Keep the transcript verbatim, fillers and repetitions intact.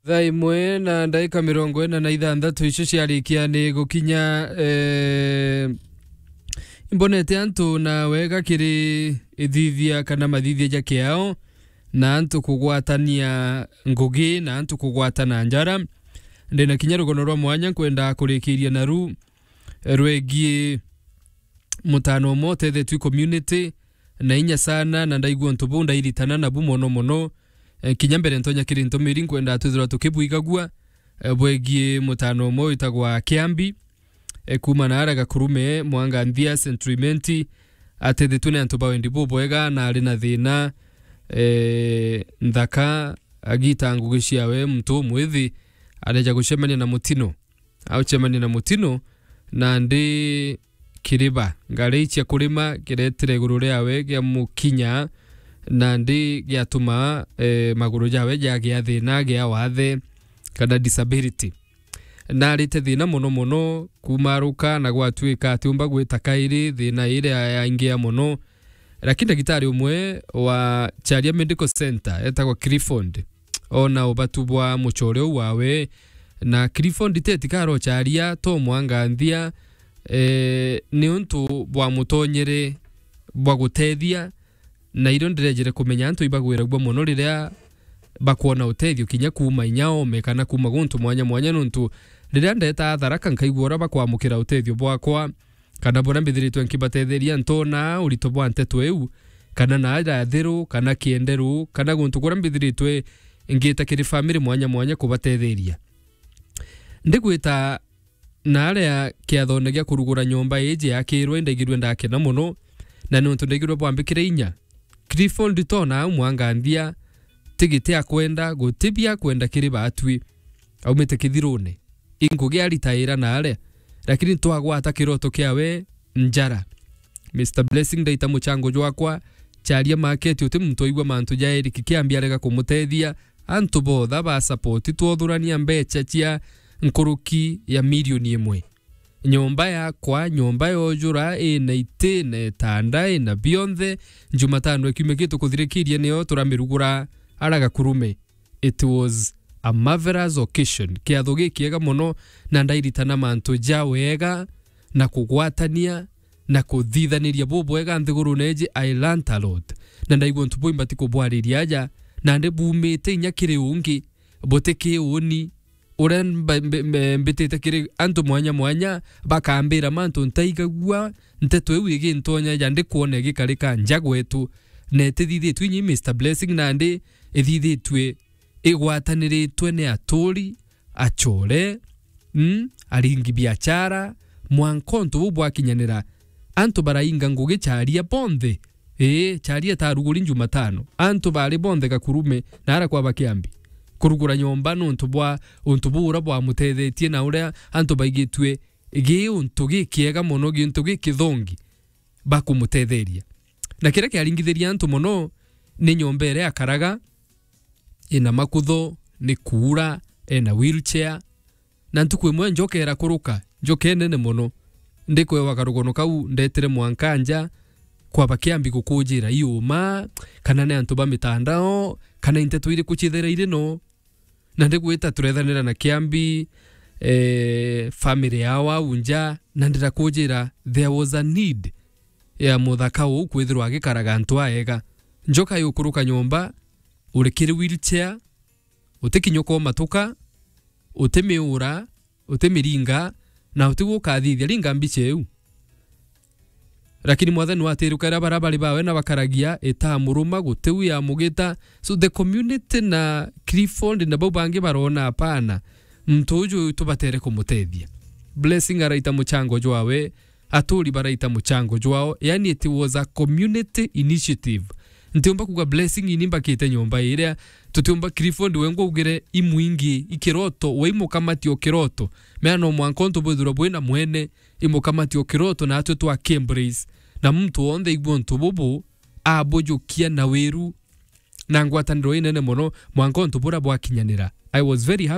Thaa imwe na ndaika mirongo ina na ithanthatu icio ciarikia ni gukinya, eh, imbonete antu na wega kiri ithithia kana mathithia ja kiao, na antu kugwatania ngugi, na antu kugwatana njara. Ndina kinya rugono rwa mwanya nkwenda kurikiria naru, eh, rwegie mutano umwe utethetwi community na inya sana, na ndaigua untu buu ndairitana nabu mono mono. Eh, kinya mbere ntonya kiri ntumiri, nkwenda twithirwa tukibwigagua, eh, bwegie mutano umwe witagwa Kiambi, eh, kuuma na ara Gakurume, Mwanga Nthia, Central Imenti, atethetwe ni antu ba wendi bubwega na ari na thina, eh, nthaka, agita ngugi ciawe, muntu umwithi areja gucemania na mutino. Aucemania na mutino, nandi kiriba, ngari cia kurima kiretire iguru riawe gia mukinya, nandi giatuma, eh, maguru jawe jagia thina gia wathe kana disability. Narite thina mono mono, kumaruka na gwatuika atiumba gwita kairi, thina iria yaingia mono. Lakini ndagitari umwe wa Charia Medical Center etagwa Clifford, ona ubatu bwa mucore uu wawe, na Clifford teti karocharia to Mwanga Nthia, eh, ni untu bwa mutonyere bwa gutethia, na irio ndirejere kumenya antu ibagwiragua mono riria bakwona utethio kinya kuuma inya ome kana kuuma guntu mwanya mwanya, nontu riria ndeta Tharaka nkaigua uria bakwamukira utethio bwakwa, kana buria mbithiritwe nkibatetheria, ntona urito bwa nteto iu, kana na aja Thiru, kana Kienderu, kana guntu kuria mbithiritwe ngita kiri family mwanya mwanya kubatetheria. Ndigwita na aria kiathone gia kurugura nyomba iji yakirwe, ndaigirwe ndakena mono, na nontu ndaigirwe bwambikire inya. Clifford tona au Mwanga Nthia, tigiti akwenda, guti bia kwenda kiri batwi. Aumite kithirune. Ingugi aritaira na aria. Lakini twagwata kiroto kiawe njara. Mister Blessing ndaita muchango jwakwa, Charia market uti muntu aigua mantu ja Eric Kiambi arega kumutethia, antu botha ba support twothurania mbecha cia nkuruki ya milioni imwe. Nyomba yakwa, nyomba yojura, ina iti, ina itanda, ina bionthe. Jumatano ya kiumia gitu kuthirikirie nio turamirugura ara Gakurume. It was a marvelous occasion. Kiatho gikiega mono, na ndairitana mantu ja wega, na kugwatania, na kuthithaniria bubwega nthigurune iji. I learnt a lot. Na ndaigua untu buu imbati kubwariria aja, nandi bumite inya kiri ungi, buti kiuni, uria mba-, mbe-, mbe-, mbitite kiri antu mwanya mwanya, bakambira mantu ntaigagua, nteto iu igintonya ja ndikwona igikarika nja gwetu, na itithithitue inya i Mister Blessing, nandi ithithitue igwataniritwe ni aturi, achore, mm, aringi biachara, mwanka untu buu bwakinyanira, antu barainga ngugi Charia bonthe. Ii, Charia itaruguri Jumatano. Antu bari bonthe Gakurume na ara kwa Bakiambi kurugura nyomba nontu bwa untu buu uria bwamutethetie na uria antu baigitue gi untu gikiega mono, gintu gikithongi bakumutetheria. Na kiria kiaringithirie antu mono ni nyomba iria akaraga, ina makutho, ni kuura, ena wheelchair. Na ntuku imwe njoka irakuruka, njoka inene mono. Ndikwewa karugono kau, ndetire mwanka nja kwa Bakiambi gukujira iuma, kana ni antu ba mitandao, kana i nteto iriku ciithira iri no. Na ndigwita turethanira na Kiambi, eh, family yao au nja, na ndirakujira there was a need ya muthaka uu kwithirwa agikaraga antu aega. Njoka yukuruka nyomba, uri kiri wheelchair, utikinyuka umatuka, utimiura, utimiringa, na utigwo ukathithia. Ringa mbicha iu. Lakini Mwathani watirukaira baria bari bawe na bakaragia, itamuruma, guti u yamugita. So the community na Clifford na bau bangi barona, hapana, muntu uju tubatere kumutethia. Blessing araita muchango jwawe, aturi baraita muchango jwao, yani it was a community initiative. Ntiumba kuga Blessing ini mbakite nyomba iria, tutiumba Clifford we ngwaugire imwingi ikiroto, we imukamati o kiroto. Mea no mwanka untu bwithirwa bwina mwene, imukamati o kiroto na atwi twa Cambridge. Na muntu wonthe igua untu bubu, abujukia na wiru na ngwataniro inene mono, mwanka untu bura bwakinyanira. I was very happy.